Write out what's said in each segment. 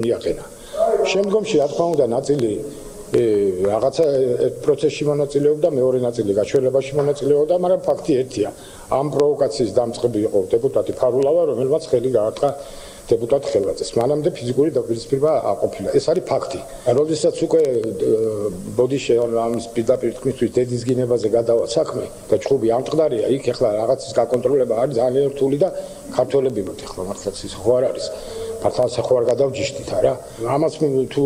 მიაყენა. შემდგომში რა თქმა უნდა ნაწილი რაღაცა პროცესში მონაწილეობდა, მეორე ნაწილი გაჩვენებაში მონაწილეობდა, მაგრამ ფაქტი ერთია. ამ პროვოკაციის დამწყები იყო დეპუტატი ფარულავა, რომელმაც ხელი გაარტყა დეპუტატ ხელვაძეს. მანამდე ფიზიკური დაპირისპირება აყოფილა. ეს არის ფაქტი. როდესაც უკვე ბოდიში ამის პირდაპირ თქმისთვის დედის გინებაზე გადავა საქმე და ჩხუბი ამწყდარია, იქ ეხლა რაღაცის გაკონტროლება არის ძალიან რთული და ქართველები მოთ ეხლა მართლაც ის ხო არ არის. მართლაც ხო არ გადავჯიშდით არა? ამას თუ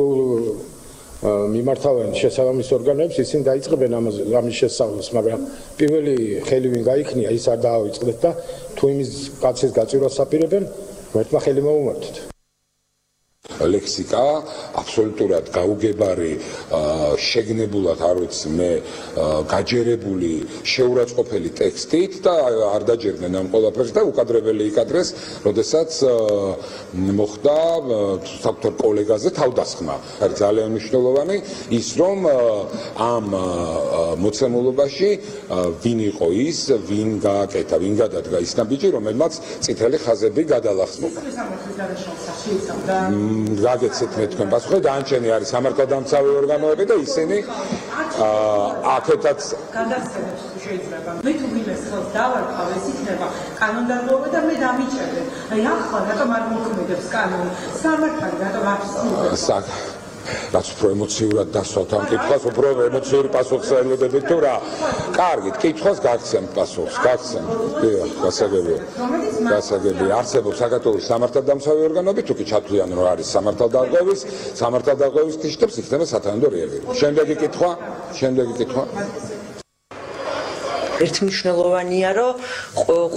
მიმართავენ შესაბამის ორგანოებს, ისინი დაიწყებენ ამის შესწავლას, მაგრამ პირველი ხელი ვინ გაიქნია, ის არ დაავიწყდეთ და თუ იმის კაცის გაწირვას აპირებენ, ერთმა ხელი მოუმართოთ. ლექსიკა აბსოლუტურად გაუგებარი, შეგნებულად არ ვიცი მე, გაჯერებული, შეურაცხყოფელი ტექსტით და არ დაჯერდნენ ამ ყველაფერს და უკადრებელი იკადრეს, როდესაც მოხდა საკუთარ კოლეგაზე თავდასხმა. არის ძალიან მნიშვნელოვანი ის, რომ ამ მოცემულობაში ვინ იყო ის, ვინ გააკეთა, ვინ გადადგა ის ნაბიჯი, რომელმაც წითელი ხაზები გადალახსნობა. გაგეცეთ მე თქვენ პასუხი, დაანჩენი არის სამართალდამცავი ორგანოები და ისინი აქეთაც გადასცემს შეიძლება. მე თუ ვილეს ხელს დავარქვავ, ეს იქნება კანონდარღვევა და მე დამიჭერდე. აი ახლა რატომ არ მოქმედებს კანონი? სამართალი რატომ არ ცდილობს? რაც უფრო ემოციურად დასვათ ამ კითხვას, უფრო ემოციური პასუხს ელოდებით თუ რა. კარგით, კითხვას გაგცემთ პასუხს, გაგცემთ. დიახ, გასაგებია. გასაგებია. არსებობს საქართველოს სამართალდამცავი ორგანოები, თუ კი ჩათვლიან რომ არის სამართალდამცავების კითხვებს იქნება სათანადო რეაგირება. შემდეგი კითხვა. ერთმნიშვნელოვანია, რომ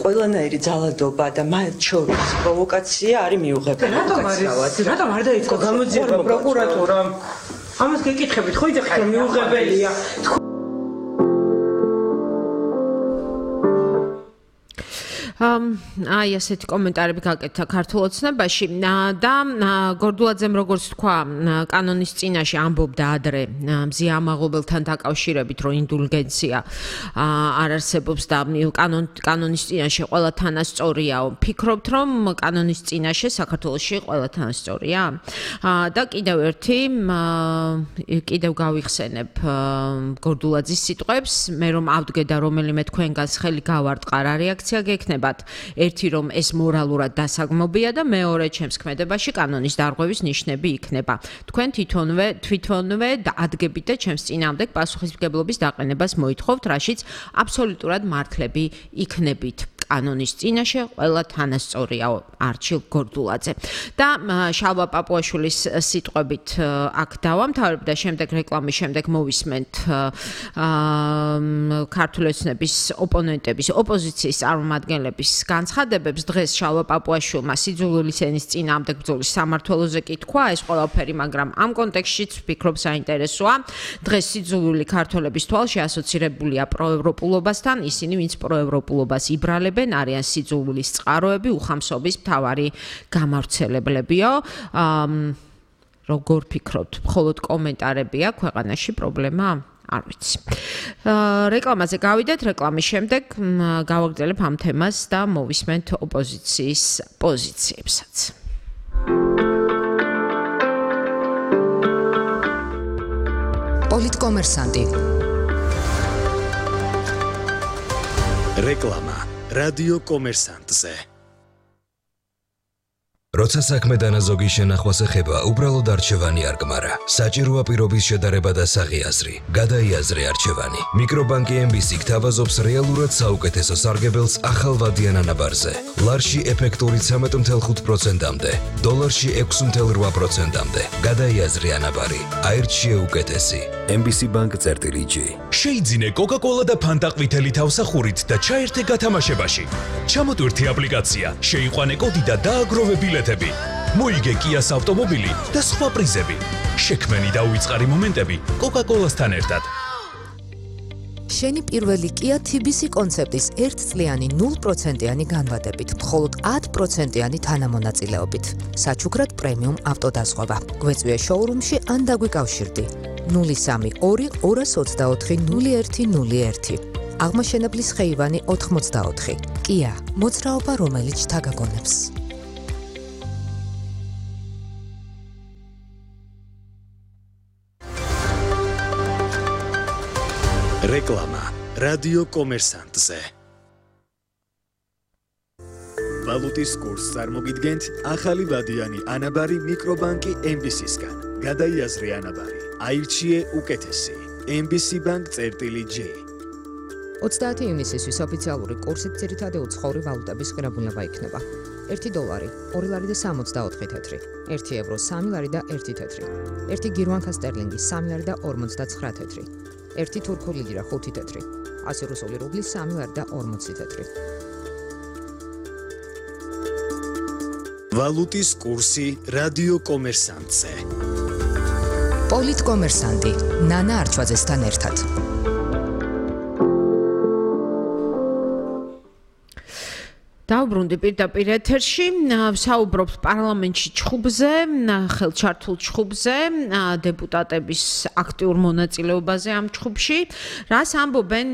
ყველანაირი ძალადობა და მათ შორის პროვოკაცია არის მიუღებელი. რატომ არ დაიწყო გამოძიება პროკურატურამ? ამას გეკითხებით, ხო იცით რომ მიუღებელია. აი ასეთი კომენტარები გაკეთა ქართულ ოცნებაში და გორდულაძემ როგორც თქვა კანონის წინაშე ამბობდა ადრე მზია ამაღობელთან დაკავშირებით რომ ინდულგენცია არ არსებობს და კანონის წინაშე ყველა თანასწორიაო. ფიქრობთ რომ კანონის წინაშე საქართველოში ყველა თანასწორია? და კიდევ გავიხსენებ გორდულაძის სიტყვებს, მე რომ ავდგე და რომელიმე თქვენგანს ხელი გავარტყა, რა რეაქცია გექნება? ერთი რომ ეს მორალურად დასაგმობია და მეორე ჩემს ქმედებაში კანონის დარღვევის ნიშნები იქნება. თქვენ თვითონვე ადგებით და ჩემს წინააღმდეგ პასუხისმგებლობის დაყენებას მოითხოვთ, რაშიც აბსოლუტურად მართლები იქნებით. კანონის წინაშე ყველა თანასწორიაო. არჩილ გორდულაძე. და შალვა პაპუაშვილის სიტყვებით აქ დავამთავრებ და შემდეგ რეკლამის შემდეგ მოვისმენთ ქართული ოცნების ოპონენტების, ოპოზიციის წარმომადგენლების განცხადებებს. დღეს შალვა პაპუაშვილმა სიძულვილის ენის წინააღმდეგ ბრძოლის სამმართველოზე კი თქვა ეს ყველაფერი, მაგრამ ამ კონტექსტშიც ვფიქრობ საინტერესოა. დღეს სიძულვილი ქართველების თვალში ასოცირებულია პროევროპულობასთან, ისინი ვინც პროევროპულობას იბრალებენ არიან სიძულვილის წყაროები, უხამსობის მთავარი გამავრცელებლებიო. როგორ ფიქრობთ? მხოლოდ კომენტარებია ქვეყანაში პრობლემა? არ ვიცი. რეკლამაზე გავიდეთ, რეკლამის შემდეგ გავაგრძელებ ამ თემას და მოვისმენთ ოპოზიციის პოზიციებსაც. პოლიტკომერსანტი. რეკლამა რადიო კომერსანტზე. როცა საქმე დანაზოგი შენახვას ეხება, უბრალოდ არჩევანი არ გმარა. საჭიროა პირობის შედარება და საღი აზრი. გადაიაზრე არჩევანი. მიკრობანკი MBC გთავაზობს რეალურად საუკეთესო სარგებელს ახალვადიან ანაბარზე. ლარში ეფექტური 13.5%-მდე, დოლარში 6.8%-მდე. გადაიაზრე ანაბარი. აირჩიე უკეთესი. MBC Bank-G. შეიძინე Coca-Cola და Fanta ყვითელი თავსახურით და ჩაერთე გათამაშებაში. ჩამოტვირთი აპლიკაცია, შეიყვანე კოდი და დააგროვე ბილეთები. მოიგე Kia-ს ავტომობილი და სხვა პრიზები. შექმენი და უიწყარი მომენტები Coca-Cola-სთან ერთად. შენი პირველი Kia TBC კონცეპტის 1 წლიანი 0%-იანი განვადებით, მხოლოდ 10%-იანი თანამონაწილეობით. საჩუქრად პრემიუმ ავტოდაზღვევა. გვეწვიე შოურუმში ან დაგვიკავშირდი. 03-224-0101. აღმაშენებლის ხეივანი 84. Kia, მოძრაობა რომელიც შთაგაგონებს. რეკლამა რადიო კომერსანტზე. ვალუტის კურსს წარმოგიდგენთ ახალი ვადიანი ანაბარი მიკრობანკი MBC-სგან. გადაიაზრე ანაბარი, აირჩიე უკეთესი. MBC Bank-J. 30 ივნისისთვის ოფიციალური კურსით ძირითადი უცხოური ვალუტების ღირებულება იქნება. 1 დოლარი, 2 ლარი და 64 თეთრი, 1 ევრო, 3 ლარი და 1 თეთრი, 1 გირვანკა სტერლინგი, 3 ლარი და 59 თეთრი, 1 თურქული ლიրա, 5 თეთრი, 100 რუსული რუბლი, 3 ლარი და 40 თეთრი. ვალუტის კურსი რადიო კომერსანტზე. პოლიტკომერსანტი ნანა არჩვაძესთან ერთად. დავბრუნდი პირდაპირ ეთერში, საუბრობთ პარლამენტში ჩხუბზე, ხელჩართულ ჩხუბზე, დეპუტატების აქტიურ მონაწილეობაზე ამ ჩხუბში. რას ამბობენ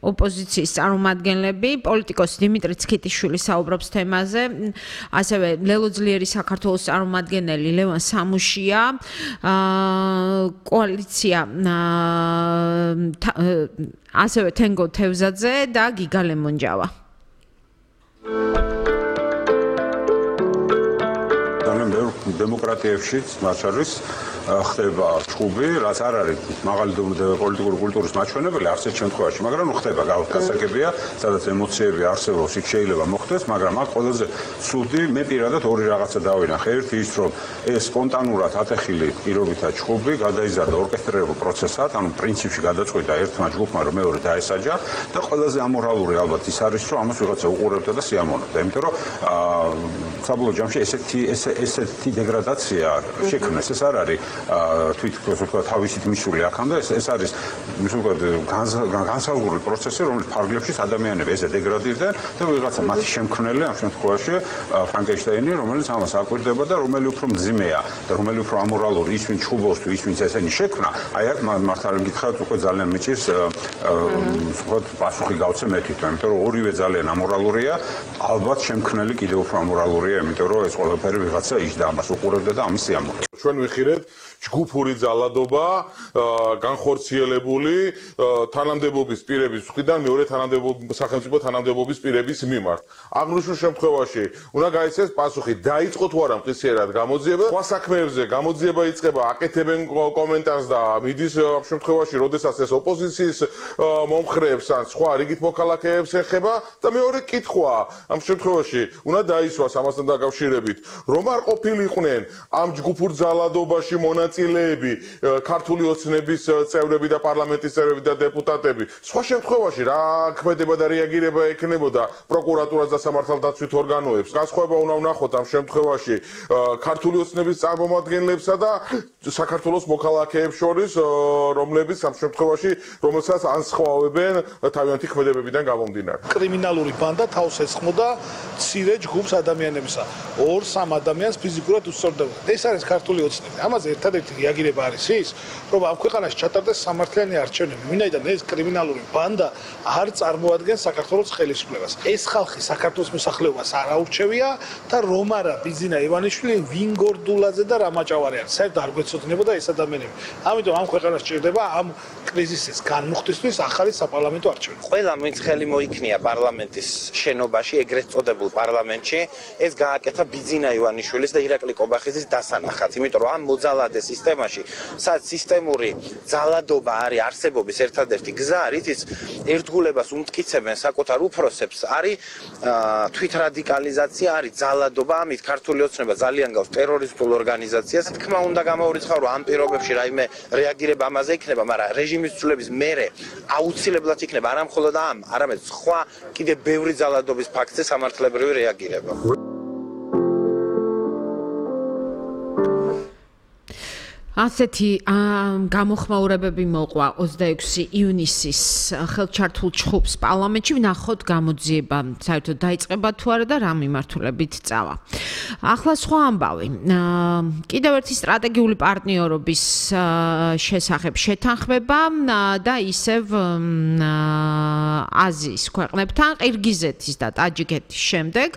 ოპოზიციის წარმომადგენლები, პოლიტიკოსი დიმიტრი ცქიტიშვილი საუბრობს თემაზე, ასევე ლელო ძლიერი საქართველოს წარმომადგენელი ლევან სამუშია, კოალიცია ასევე თენგო თევზაძე და გიგა ლემონჯავა. დემოკრატიებში მათ შორის ხდება ჩხუბი, რაც არ არის მაღალი პოლიტიკური კულტურის მაჩვენებელი არც ერთ შემთხვევაში, მაგრამ ხდება გასაგებია, სადაც ემოციები არსებობს, იქ შეიძლება მოხდეს, მაგრამ აქ ყველაზე ცუდი მე პირადად ორი რაღაცა დავინახე. ერთი ის, რომ ეს სპონტანურად ატეხილი პირობითა ჩხუბი გადაიზარდა ორკესტრირებულ პროცესად, ანუ პრინციპში გადაწყვიტა ერთმა ჯგუფმა, რომ მეორე დაესაჯა და ყველაზე ამორალური ალბათ ის არის, რომ ამას ვიღაცა უყურებდა და სიამოვნებდა, იმიტომ რომ საბოლოო ჯამში ესეთი დეგრადაცია შექმნეს, ეს არ არის თვითონ თავისით მისული აქამდე, ეს არის განსაზღვრული პროცესი, რომელიც ფარგლებში ადამიანები ესე დეგრადირდნენ და ვიღაცა მათი შემქმნელი ამ შემთხვევაში ფრანკენშტაინი, რომელიც ამას აკვირდება და რომელი უფრო მძიმეა და რომელი უფრო ამორალური, ის ვინ ჩხუბობს თუ ის ვინც ესენი შექმნა, აი აქ მართალი გითხრათ უკვე ძალიან მიჭირს პასუხი გავცე მე თვითონ, იმიტომ რომ ორივე ძალიან ამორალურია, ალბათ შემქმნელი კიდევ უფრო ამორალურია, იმიტომ რომ ეს ყველაფერი ვიღაცა იჯდა ამას უყურებდა და ამის სიამოვნებდა. ჩვენ ვიხილეთ ჯგუფური ძალადობა, განხორციელებული თანამდებობის პირების მხრიდან მეორე სახელმწიფო თანამდებობის პირების მიმართ. აღნიშნულ შემთხვევაში უნდა გაიცეს პასუხი, დაიწყო თუ არა მყისიერად გამოძიება, სხვა საქმეებზე გამოძიება იწყება, აკეთებენ კომენტარს და მიდის ამ შემთხვევაში, როდესაც ეს ოპოზიციის მომხრეებს ან სხვა რიგით მოქალაქეებს ეხება და მეორე კითხვა ამ შემთხვევაში უნდა დაისვას ამასთან დაკავშირებით, რომ არ ყოფილიყვნენ ამ ჯგუფურ ძალადობაში მონაწილეები, ქართული ოცნების წევრები და პარლამენტის წევრები და დეპუტატები. სხვა შემთხვევაში რა ქმედება და რეაგირება ექნებოდა პროკურატურას და სამართალდაცვით ორგანოებს. განსხვავება უნდა ვნახოთ ამ შემთხვევაში ქართული ოცნების წარმომადგენლებსა და საქართველოს მოქალაქეებს შორის, რომლებიც ამ შემთხვევაში რომელსაც ანსხვავებენ თავიანთი ქმედებებიდან გამომდინარე. კრიმინალური ბანდა თავს ესხმოდა მცირე ჯგუფს ადამიანებისა. 2-3 ადამიანს ფიზიკურად უსწორდებოდა. ეს არის ქართული ოცნები. ამაზე ერთადერთი რეაგირება არის ის, რომ ამ ქვეყანაში ჩატარდეს სამართლიანი არჩევნები. ვინაიდან ეს კრიმინალური ბანდა არ წარმოადგენს საქართველოს ხელისუფლებას. ეს ხალხი საქართველოს მოსახლეობას არ აურჩევია და რომ არა ბიზინა ივანიშვილი, ვინგორდულაძე და რამაჭავარი არის. საერთოდ არ გვეცოდინებოდა ეს ადამიანები. ამიტომ ამ ქვეყანას ჭირდება ამ კრიზისის განმუხტისთვის ახალი საპარლამენტო არჩევნები. ყველა ვინც ხელი მოიქნია პარლამენტის შენობაში, ეგრეთ წოდებულ პარლამენტში, ეს გააკეთა ბიზინა ივანიშვილის და ირაკლი კობახიძის დასანახად. იმიტომ რომ ამ მოძალადე სისტემაში, სადაც სისტემური ძალადობა არის არსებობის ერთადერთი გზა, რითიც ერთგულებას უმტკიცებენ საკუთარ უფროსებს, არის თვითრადიკალიზაცია, არის ძალადობა, ამით ქართული ოცნება ძალიან გავს ტერორისტულ ორგანიზაციას. თქმა უნდა გამოურიცხავ, რომ ამ პირობებში რაიმე რეაგირება ამაზე იქნება, მაგრამ რეჟიმის ცვლილების მერე აუცილებლად იქნება არა მხოლოდ ამ, არამედ სხვა კიდევ ბევრი ძალადობის ფაქტზე სამართლებრივი რეაგირება. ასეთი გამოხმაურებები მოყვა 26 ივნისის ხელჩართულ ჩხუბს პარლამენტში. ვნახოთ გამოძიება საერთოდ დაიწყება თუ არა და რა მიმართულებით წავა. ახლა სხვა ამბავი. კიდევ ერთი სტრატეგიული პარტნიორობის შესახებ შეთანხმება და ისევ აზიის ქვეყნებთან, ყირგიზეთის და ტაჯიკეთის შემდეგ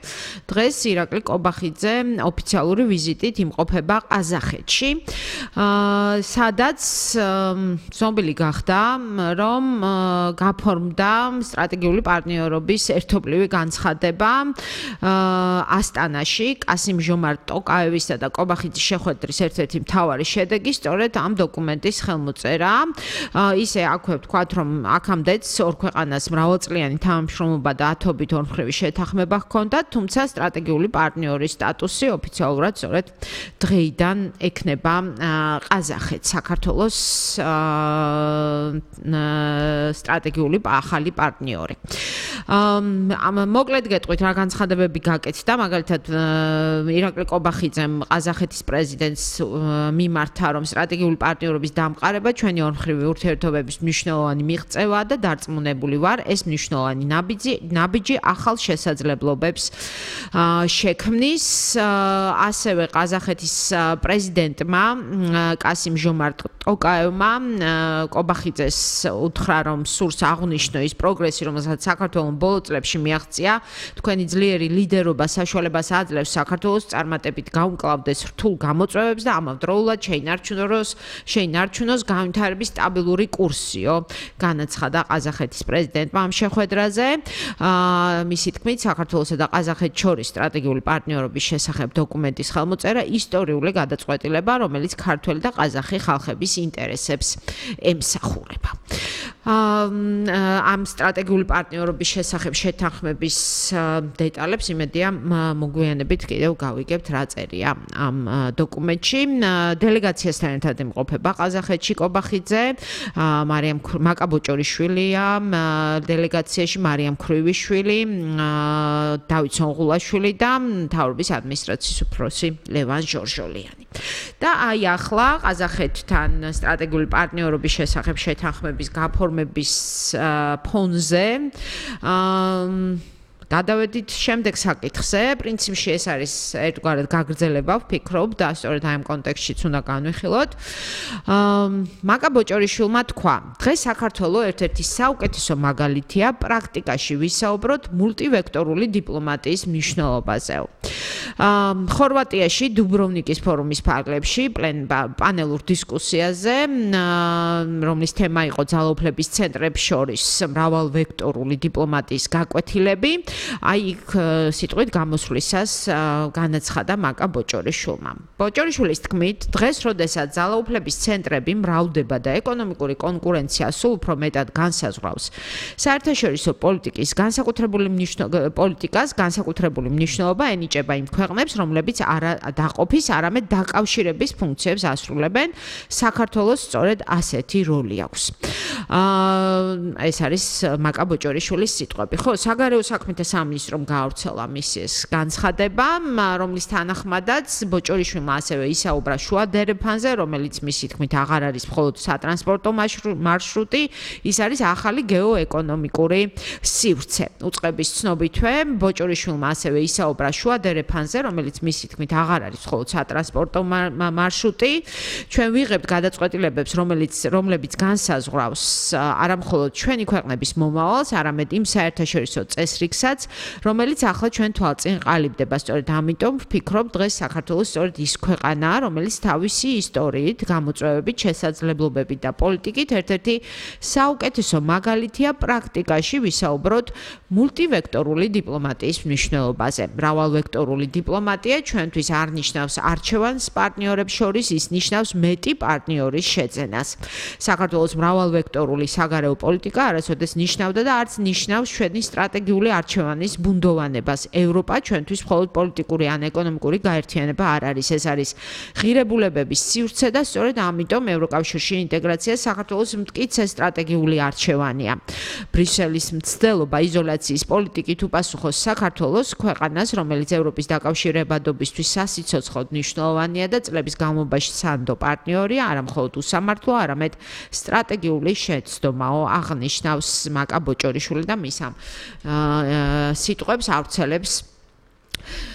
დღეს ირაკლი კობახიძე ოფიციალური ვიზიტით იმყოფება ყაზახეთში. სადაც ზომბილი გახდა, რომ გაფორმდა სტრატეგიული პარტნიორობის ერთობლივი განცხადება ასტანაში კასიმ-ჟომართ ტოკაევისა და კობახიძის შეხვედრის ერთ-ერთი მთავარი შედეგი სწორედ ამ დოკუმენტის ხელმოწერა. ისე აქვე ვთქვათ, რომ აქამდეც ორ ქვეყანას მრავალწლიანი თანამშრომლობა და ათობით ორმხრივი შეთანხმება ჰქონდათ, თუმცა სტრატეგიული პარტნიორის სტატუსი ოფიციალურად სწორედ დღეიდან ექნება ყაზახეთს, საქართველოს სტრატეგიული ახალი პარტნიორი. მოკლედ გეტყვით რა განცხადებები გაკეთდა, მაგალითად ირაკლი კობახიძემ ყაზახეთის პრეზიდენტს მიმართა, რომ სტრატეგიული პარტნიორობის დამყარება ჩვენი ორმხრივი ურთიერთობების მნიშვნელოვანი მიღწევაა და დარწმუნებული ვარ, ეს მნიშვნელოვანი ნაბიჯი ახალ შესაძლებლობებს შექმნის. ასევე ყაზახეთის პრეზიდენტმა კასიმ-ჟომართ ტოკაევმა კობახიძეს უთხრა, რომ სურს აღნიშნო ის პროგრესი, რომელსაც საქართველოს ბოლო წლებში მიაღწია. თქვენი ძლიერი ლიდერობა საშუალებას აძლევს საქართველოს წარმატებით გაუმკლავდეს რთულ გამოწვევებს და ამავდროულად შეინარჩუნოს განვითარების სტაბილური კურსიო. განაცხადა ყაზახეთის პრეზიდენტმა ამ შეხვედრაზე. მისი თქმით, საქართველოსა და ყაზახეთს შორის სტრატეგიული პარტნიორობის შესახებ დოკუმენტის ხელმოწერა ისტორიული გადაწყვეტილება, რომელიც ქართველი და ყაზახი ხალხების ინტერესებს ემსახურება. ამ სტრატეგიული პარტნიორობის შესახებ შეთანხმების დეტალებს იმედია მოგვიანებით კიდევ გავიგებთ რა წერია ამ დოკუმენტში. დელეგაციასთან ერთად იმყოფება ყაზახეთში კობახიძე, მაკაბოჭორიშვილია დელეგაციაში, მარიამ ქრუიშვილი, დავით სონღულაშვილი და მთავრობის ადმინისტრაციის უფროსი ლევან ჟორჟოლიანი. და აი ახლა ყაზახეთთან სტრატეგიული პარტნიორობის შესახებ შეთანხმების გაფორმების ფონზე გადავედით შემდეგ საკითხზე. პრინციპში ეს არის ერთგვარად გაგრძელება, ვფიქრობ და სწორედ აი ამ კონტექსტშიც უნდა განვიხილოთ. მაკაბოჭორიშვილმა თქვა, დღეს საქართველოს ერთ-ერთი საუკეთესო მაგალითია პრაქტიკაში ვისაუბროთ მულტივექტორული დიპლომატიის მნიშვნელობაზე. ხორვატიაში დუბროვნიკის ფორუმის ფარგლებში პანელურ დისკუსიაზე, რომლის თემა იყო ძალაუფლების ცენტრებს შორის მრავალვექტორული დიპლომატიის გაკვეთილები. აი იქ სიტყვით გამოსვლისას განაცხადა მაკაბოჭორიშვილმა. ბოჭორიშვილის თქმით, დღეს, როდესაც ძალაუფლების ცენტრები მრავლდება და ეკონომიკური კონკურენცია სულ უფრო მეტად განსაზღვრავს საერთაშორისო პოლიტიკის განსაკუთრებული მნიშვნელობა ენიჭება იმ ქვეყნებს, რომლებიც არა დაყოფის, არამედ დაკავშირების ფუნქციებს ასრულებენ, საქართველოს სწორედ ასეთი როლი აქვს. ეს არის მაკაბოჭორიშვილის სიტყვები. ხო, საგარეო საქმეთა სამინისტრომ გაავრცელა მისი ეს განცხადება, რომლის თანახმადაც ბოჭორიშვილმა ასევე ისაუბრა შუა დერეფანზე, რომელიც მისი თქმით აღარ არის მხოლოდ სატრანსპორტო მარშრუტი, ის არის ახალი გეოეკონომიკური სივრცე. უწყების ცნობითვე, ბოჭორიშვილმა ასევე ისაუბრა შუა დერეფანზე, რომელიც მისი თქმით აღარ არის მხოლოდ სატრანსპორტო მარშრუტი. ჩვენ ვიღებთ გადაწყვეტილებებს, რომლებიც განსაზღვრავს არა მხოლოდ ჩვენი ქვეყნების მომავალს, არამედ იმ საერთაშორისო წესრიგსაც, რომელიც ახლა ჩვენ თვალწინ ყალიბდება. სწორედ ამიტომ ვფიქრობ, დღეს საქართველოს სწორედ ის ქვეყანაა, რომელიც თავისი ისტორიით, გამოწვევებით, შესაძლებლობებით და პოლიტიკით ერთ-ერთი საუკეთესო მაგალითია პრაქტიკაში ვისაუბროთ მულტივექტორული დიპლომატიის მნიშვნელობაზე. მრავალვექტორული დიპლომატია ჩვენთვის არ ნიშნავს არჩევანს პარტნიორებს შორის, ის ნიშნავს მეტი პარტნიორის შეძენას. საქართველოს მრავალვექტორული საგარეო პოლიტიკა არასოდეს ნიშნავდა და არც ნიშნავს ჩვენი სტრატეგიული არჩევანის ბუნდოვანებას. ევროპა ჩვენთვის მხოლოდ პოლიტიკური ან ეკონომიკური გაერთიანება არ არის, ეს არის ღირებულებების სივრცე და სწორედ ამიტომ ევროკავშირში ინტეგრაცია საქართველოს მტკიცე სტრატეგიული არჩევანია. ბრიუსელის მცდელობა იზოლაციის პოლიტიკით უპასუხოს საქართველოს, ქვეყანას, რომელიც ევროპის დაკავშირებადობისთვის სასიცოცხლოდ მნიშვნელოვანია და წლების განმავლობაში სანდო პარტნიორია, არა მხოლოდ უსამართლო, არამედ სტრატეგიული შეცდომაო, აღნიშნავს მაკაბოჭორიშვილი და მის ამ სიტყვებს ავრცელებს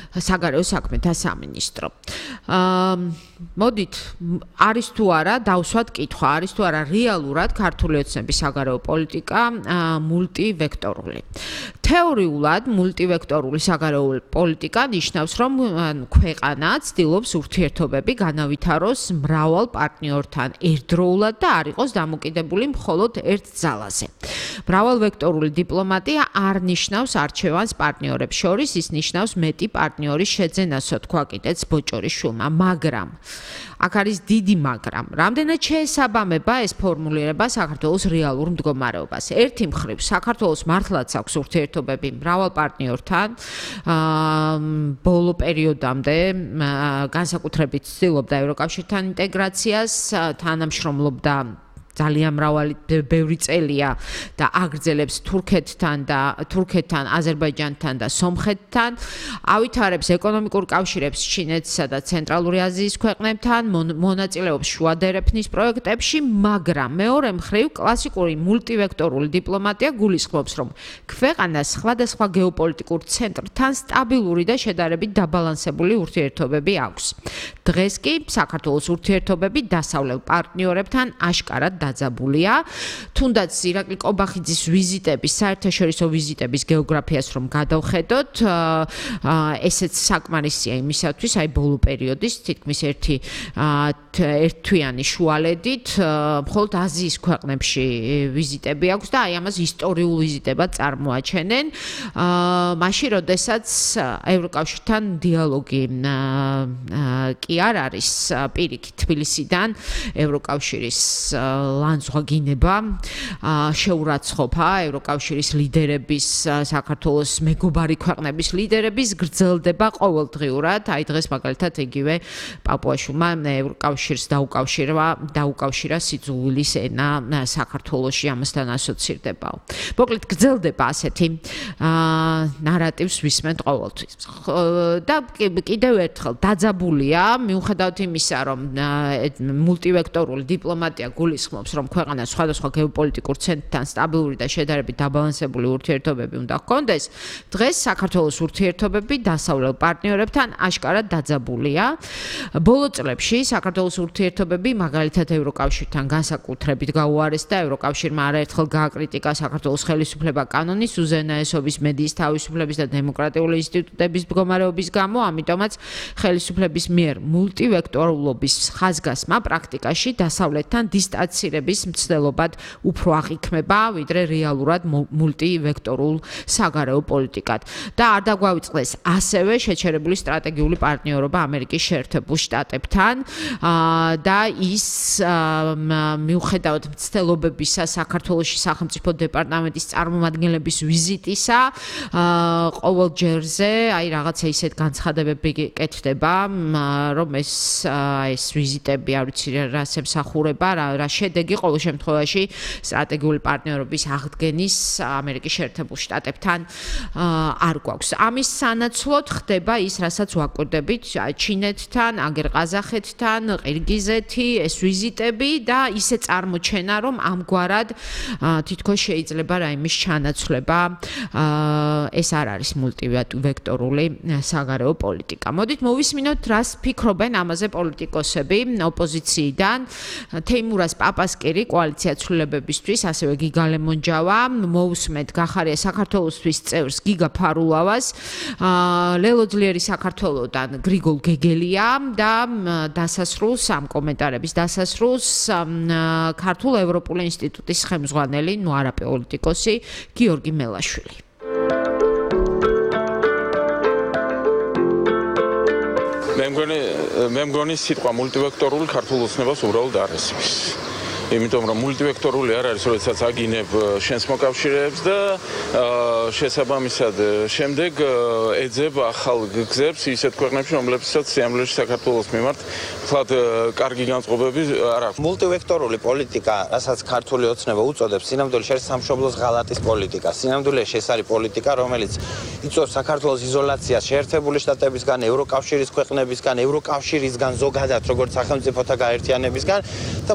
საგარეო საქმეთა სამინისტრო. მოდით, არის თუ არა, დავსვათ კითხვა, არის თუ არა რეალურად ქართული ოცნების საგარეო პოლიტიკა მულტივექტორული. თეორიულად მულტივექტორული საგარეო პოლიტიკა ნიშნავს, რომ ქვეყანა ცდილობს ურთიერთობები განავითაროს მრავალ პარტნიორთან ერთდროულად და არ იყოს დამოკიდებული მხოლოდ ერთ ძალაზე. მრავალვექტორული დიპლომატია არ ნიშნავს არჩევანს პარტნიორებს შორის, ის ნიშნავს მეტი პარტნიორის შეძენასო, თქვა კიდეც ბოჭორიშვილმა, მაგრამ აქ არის დიდი მაგრამ. რამდენად შეესაბამება ეს ფორმულირება საქართველოს რეალურ მდგომარეობას? ერთი მხრივ, საქართველოს მართლაც აქვს ურთიერთობები მრავალ პარტნიორთან, ბოლო პერიოდამდე განსაკუთრებით ცდილობდა ევროკავშირთან ინტეგრაციას, თანამშრომლობდა ძალიან მრავალი ბევრი წელია და აგრძელებს თურქეთთან, აზერბაიჯანთან და სომხეთთან, ავითარებს ეკონომიკურ კავშირებს ჩინეთსა და ცენტრალური აზიის ქვეყნებთან, მონაწილეობს შუა დერეფნის პროექტებში, მაგრამ მეორე მხრივ კლასიკური მულტივექტორული დიპლომატია გულისხმობს, რომ ქვეყანას სხვადასხვა გეოპოლიტიკურ ცენტრთან სტაბილური და შედარებით დაბალანსებული ურთიერთობები აქვს. დღეს კი საქართველოს ურთიერთობები დასავლელ პარტნიორებთან აშკარად დაძაბულია. თუნდაც ირაკლი ყობახიძის ვიზიტების, საერთაშორისო ვიზიტების გეოგრაფიას რომ გადავხედოთ, ესეც საკმარისია იმისათვის, აი ბოლო პერიოდის თითქმის ერთთვიანი შუალედით, მხოლოდ აზიის ქვეყნებში ვიზიტები აქვს და აი ამას ისტორიულ ვიზიტებად წარმოაჩენენ. მაშინ, როდესაც ევროკავშირთან დიალოგი კი არ არის პირიქით თბილისიდან ევროკავშირის ლანძღვაგინება შეურაცხყოფა ევროკავშირის ლიდერების, საქართველოს მეგობარი ქვეყნების ლიდერების გრძელდება ყოველდღიურად. აი დღეს მაგალითად იგივე პაპუაშვილმა ევროკავშირს დაუკავშირა სიძულვილის ენა საქართველოში, ამასთან ასოცირდებაო. მოკლედ გრძელდება ასეთი ნარატივს ვისმენთ ყოველთვის. და კიდევ ერთხელ დაძაბულია, მიუხედავად იმისა, რომ მულტივექტორული დიპლომატია გულისხმობს, რომ ქვეყანა სხვადასხვა გეოპოლიტიკურ ცენტრთან სტაბილური და შედარებით დაბალანსებული ურთიერთობები უნდა ჰქონდეს, დღეს საქართველოს ურთიერთობები დასავლელ პარტნიორებთან აშკარად დაძაბულია. ბოლო წლებში საქართველოს ურთიერთობები მაგალითად ევროკავშირთან განსაკუთრებით გაუარესდა, ევროკავშირმა არაერთხელ გააკრიტიკა საქართველოს ხელისუფლება კანონის, უზენაესობის, მედიის თავისუფლების და დემოკრატიული ინსტიტუტების მდგომარეობის გამო, ამიტომაც ხელისუფლების მიერ მულტივექტორულობის ხაზგასმა პრაქტიკაში დასავლეთთან დისტანცირების მცდელობად უფრო აღიქმება, ვიდრე რეალურად მულტივექტორულ საგარეო პოლიტიკად. და არ დაგვავიწყდეს ასევე შეჩერებული სტრატეგიული პარტნიორობა ამერიკის შეერთებულ შტატებთან და ის მიუხედავად მცდელობებისა საქართველოში სახელმწიფო დეპარტამენტის წარმომადგენლების ვიზიტისა, ყოველ ჯერზე აი რაღაცა ისეთ განცხადებები კეთდება, რომ ეს ვიზიტები არ ვიცი რას ემსახურება, რა შედეგი ყოველ შემთხვევაში სტრატეგიული პარტნიორობის აღდგენის ამერიკის შეერთებულ შტატებთან არ გვაქვს. ამის სანაცვლოდ ხდება ის, რასაც ვაკვირდებით ჩინეთთან, აგერ ყაზახეთთან, ყირგიზეთი, ეს ვიზიტები და ისე წარმოჩენა, რომ ამგვარად თითქოს შეიძლება რაიმის ჩანაცვლება, ეს არ არის მულტივექტორული საგარეო პოლიტიკა. მოდით მოვისმინოთ, რას ფიქრობენ ამაზე პოლიტიკოსები ოპოზიციიდან. თეიმურაზ პაპასკირი კოალიცია ცვლილებებისთვის, ასევე გიგა ლემონჯავა, მოусმეთ გახარია საქართველოსთვის წევრს გიგა ფარულავას, ლელო ძლიერი საქართველოდან გრიგოლ გეგელია და დასასრულს ამ კომენტარების დასასრულს ქართულ ევროპული ინსტიტუტის ხელმძღვანელი, ნუ არა პოლიტიკოსი, გიორგი მელაშვილი. მე მგონი სიტყვა მულტივექტორული ქართულ ოცნებას უბრალოდ არ ესმის. იმიტომ რომ მულტივექტორული არ არის, როდესაც აგინებ შენს მოკავშირეებს და შესაბამისად შემდეგ ეძებ ახალ გზებს ისეთ ქვეყნებში, რომლებსაც სიამოვნებაში საქართველოს მიმართ თლად კარგი განწყობები არ აქვს. მულტივექტორული პოლიტიკა, რასაც ქართული ოცნება უწოდებს, სინამდვილეში არის სამშობლოს ღალატის პოლიტიკა. სინამდვილეში ეს არის პოლიტიკა, რომელიც იწვევს საქართველოს იზოლაციას შეერთებული შტატებისგან, ევროკავშირის ქვეყნებისგან, ევროკავშირისგან, ზოგადად როგორც სახელმწიფოთა გაერთიანებისგან და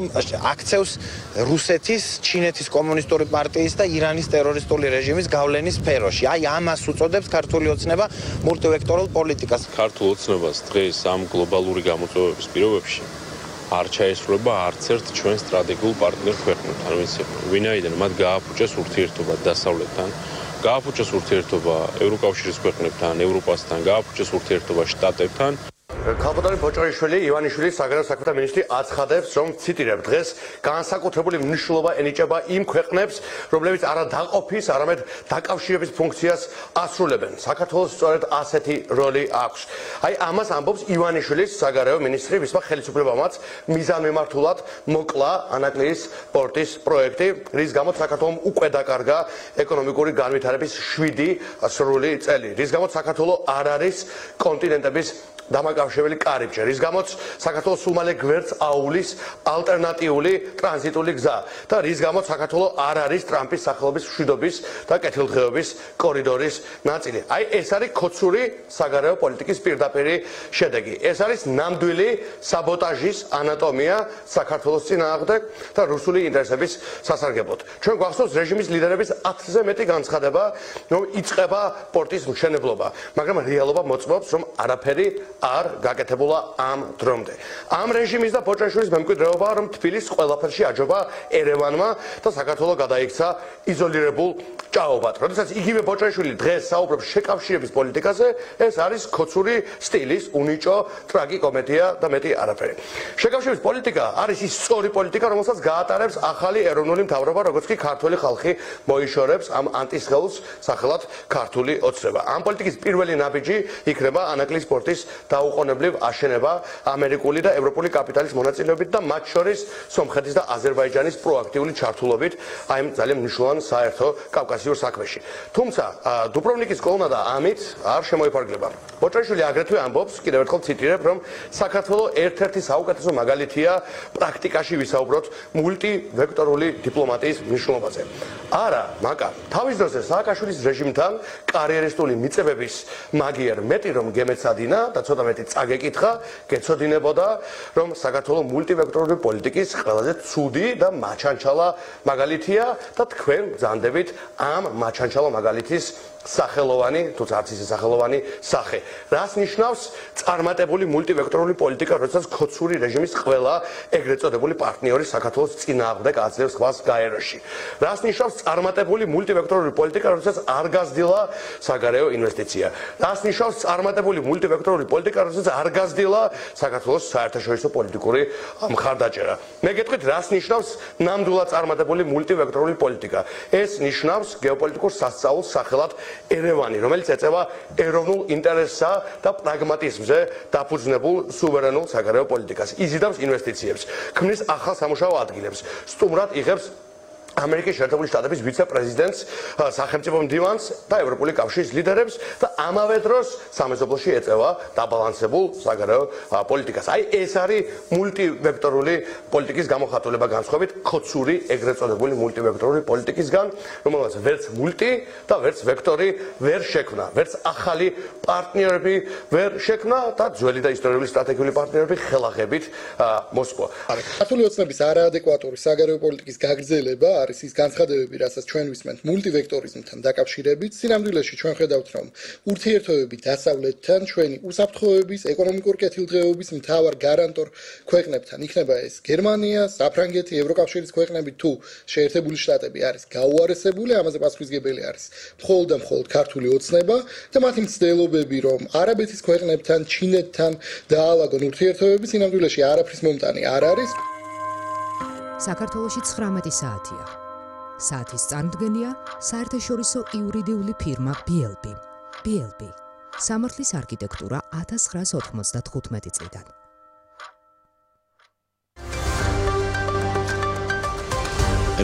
აქცევს რუსეთის, ჩინეთის კომუნისტური პარტიის და ირანის ტერორისტული რეჟიმის გავლენის სფეროში. აი ამას უწოდებს ქართული ოცნება მულტივექტორულ პოლიტიკას. ქართულ ოცნებას დღეს ამ გლობალური გამოწვევების პირობებში არ ჩაესრულება არც ერთ ჩვენ სტრატეგიულ პარტნიორ ქვეყნებთან, ვინაიდან მათ გააფუჭეს ურთიერთობა დასავლეთთან, გააფუჭეს ურთიერთობა ევროკავშირის ქვეყნებთან, ევროპასთან, გააფუჭეს ურთიერთობა შტატებთან. ქალბატონი ბოჭორიშვილი ივანიშვილი საგარეო საქმეთა მინისტრი აცხადებს, რომ ციტირებ, დღეს განსაკუთრებული მნიშვნელობა ენიჭება იმ ქვეყნებს, რომლებიც არა დაყოფის, არამედ დაკავშირების ფუნქციას ასრულებენ. საქართველოს სწორედ ასეთი როლი აქვს. აი ამას ამბობს ივანიშვილის საგარეო მინისტრი, ვისმა ხელისუფლებამაც მიზანმიმართულად მოკლა ანაკლიის პორტის პროექტი, რის გამოც საქართველოს უკვე დაკარგა ეკონომიკური განვითარების 7 სრული წელი, რის გამოც საქართველოს არ არის კონტინენტების დამაკავშირებელი კარიბჭე, რის გამოც საქართველოს სულ მალე გვერდს აუვლის ალტერნატიული ტრანზიტული გზა და რის გამოც საქართველოს არ არის ტრამპის სახელობის მშვიდობის და კეთილდღეობის კორიდორის ნაწილი. აი ეს არის ქოცური საგარეო პოლიტიკის პირდაპირი შედეგი. ეს არის ნამდვილი საბოტაჟის ანატომია საქართველოს წინააღმდეგ და რუსული ინტერესების სასარგებლოდ. ჩვენ გვახსოვს რეჟიმის ლიდერების 10-ზე მეტი განცხადება, რომ იწყება პორტის მშენებლობა, მაგრამ რეალობა მოწმობს, რომ არაფერი არ გაკეთებულა ამ დრომდე. ამ რეჟიმის და ბოჭაშვილის მემკვიდრეობა, რომ თბილისს ყველაფერში აჯობა ერევანმა და საქართველოს გადაიქცა იზოლირებულ ჭაობად. როდესაც იგივე ბოჭაშვილი დღეს საუბრობს შეკავშირების პოლიტიკაზე, ეს არის ქოცური სტილის უნიჭო ტრაგიკომედია და მეტი არაფერი. შეკავშირების პოლიტიკა არის ის სწორი პოლიტიკა, რომელსაც გაატარებს ახალი ეროვნული მთავრობა, როგორც კი ქართული ხალხი მოიშორებს ამ ანტისხეულს სახელად ქართული ოცნება. ამ პოლიტიკის პირველი ნაბიჯი იქნება ანაკლიის პორტის დაუყოვნებლივ აშენება ამერიკული და ევროპული კაპიტალის მონაწილეობით და მათ შორის სომხეთის და აზერბაიჯანის პროაქტიული ჩართულობით აი ამ ძალიან მნიშვნელოვან საერთო კავკასიურ საქმეში. თუმცა დუბროვნიკის კოლონა და ამით არ შემოიფარგლება. ბოჭაშვილი აგრეთვე ამბობს, კიდევ ერთხელ ციტირებ, რომ საქართველოს ერთ-ერთი საუკეთესო მაგალითია პრაქტიკაში ვისაუბროთ მულტივექტორული დიპლომატიის მნიშვნელობაზე. არა, მაკა, თავის დროზე სააკაშვილის რეჟიმთან კარიერისტული მიწებების მაგიერ მეტი რომ გემეცადინა და ცოტა მეტი წაგეკითხა, გეცოდინებოდა, რომ საქართველოს მულტივექტორული პოლიტიკის ყველაზე ცუდი და მაჩანჩალა მაგალითია და თქვენ ბრძანდებით ამ მაჩანჩალა მაგალითის სახელოვანი, თუმცა არც ისე სახელოვანი სახე. რას ნიშნავს წარმატებული მულტივექტორული პოლიტიკა, როდესაც ქოცური რეჟიმის ყველა ეგრეთ წოდებული პარტნიორი საქართველოს წინააღმდეგ აძლევს ხვალს გაეროში. რას ნიშნავს წარმატებული მულტივექტორული პოლიტიკა, როდესაც არ გაზრდილა საგარეო ინვესტიცია. რას ნიშნავს წარმატებული მულტივექტორული პოლიტიკა, როდესაც არ გაზრდილა საქართველოს საერთაშორისო პოლიტიკური მხარდაჭერა. მე გეტყვით, რას ნიშნავს ნამდვილად წარმატებული მულტივექტორული პოლიტიკა. ეს ნიშნავს გეოპოლიტიკურ სასწაულს სახელად ერევანი, რომელიც ეწევა ეროვნულ ინტერესსა და პრაგმატიზმზე დაფუძნებულ სუვერენულ საგარეო პოლიტიკას. იზიდავს ინვესტიციებს, ქმნის ახალ სამუშაო ადგილებს, სტუმრად იღებს ამერიკის შეერთებული შტატების ვიცე-პრეზიდენტს, სახელმწიფო მდივანს და ევროპული კავშირის ლიდერებს და ამავე დროს სამეზობლოში ეწევა დაბალანსებულ საგარეო პოლიტიკას. აი ეს არის მულტივექტორული პოლიტიკის გამოხატულება განსხვავებით ქოცური ეგრეთ წოდებული მულტივექტორული პოლიტიკისგან, რომელსაც ვერც მულტი და ვერც ვექტორი ვერ შექმნა, ვერც ახალი პარტნიორები ვერ შექმნა და ძველი და ისტორიული სტრატეგიული პარტნიორები ხელახებით მოსპო. ქართული ოცნების არაადეკვატური საგარეო პოლიტიკის გაგრძელება არის ის განცხადებები, რასაც ჩვენ ვისმენთ მულტივექტორიზმთან დაკავშირებით. სინამდვილეში ჩვენ ხედავთ, რომ ურთიერთობები დასავლეთთან ჩვენი უსაფრთხოების, ეკონომიკური კეთილდღეობის მთავარ გარანტორ ქვეყნებთან იქნება ეს გერმანია, საფრანგეთი, ევროკავშირის ქვეყნები თუ შეერთებული შტატები არის გაუარესებული, ამაზე პასუხისმგებელი არის მხოლოდ და მხოლოდ ქართული ოცნება და მათი მცდელობები, რომ არაბეთის ქვეყნებთან, ჩინეთთან დაალაგონ ურთიერთობები, სინამდვილეში არაფრის მომტანი არ არის. საქართველოში 19 საათია. საათის წარმოდგენია საერთაშორისო იურიდიული ფირმა BLB. BLB. სამართლის არქიტექტურა 1995 წლიდან.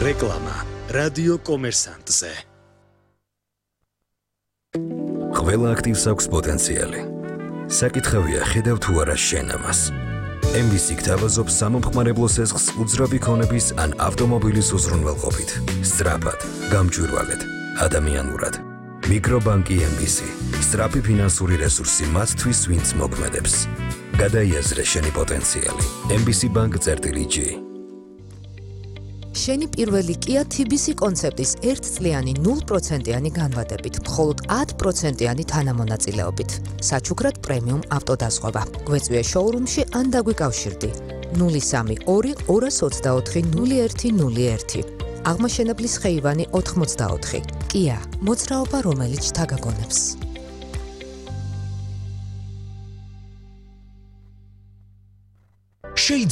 რეკლამა რადიო კომერსანტზე. ყველა აქტივს აქვს პოტენციალი. საკითხავია ხედავ თუ არა შენ ამას. MBC გთავაზობს სამომხმარებლო სესხს უძრავი ქონების ან ავტომობილის უზრუნველყოფით. სწრაფად, გამჭვირვალედ, ადამიანურად. მიკრობანკი MBC. სწრაფი ფინანსური რესურსი მათთვის, ვინც მოქმედებს. გადაიაზრე შენი პოტენციალი. MBC-bank.g. შენი პირველი Kia TBC კონცეპტის 1 წლიანი 0%-იანი განვადებით, მხოლოდ 10%-იანი თანამონაწილეობით. საჩუქრად პრემიუმ ავტოდაზღვევა. გვეწვია შოურუმში ან დაგვიკავშირდი. 032 224 0101. აღმაშენებლის ხეივანი 84. Kia, მოძრაობა, რომელიც შთაგაგონებს. შეიძლება